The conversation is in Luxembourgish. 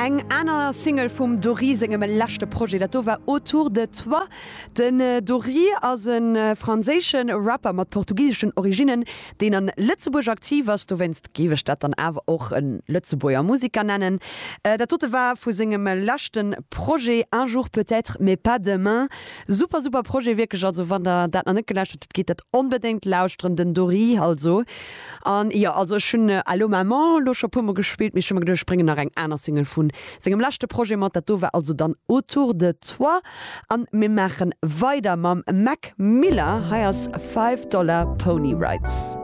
Eng aner Single vum Dory sengem leschte Projet, dat do war Autour de toi. Den Dory ass e franséische Rapper mat portugiseschen Originnen, deen an Lëtzebuerg aktiv ass. Dowéinst géif ech dat dann awer och e Lëtzebuerger Musiker nennen. Dat dote war vu sengem leschte Projet Un jour peut-être, mais pas demain. Super super Projet wierklech, also wann der dat nach net gelauschtert hutt, gitt dat onbedéngt lauschteren, den Dory also. An jo, also ech hunn Allo Maman elo scho puer mol gespillt, mee ech hu mer geduecht, ech bréngen nach eng aner Single vu sengem leschte Projet mat. Dat do war also dann Autour de toi. An mir maache weider mam Mac Miller, hei ass Five Dollar Pony Rides.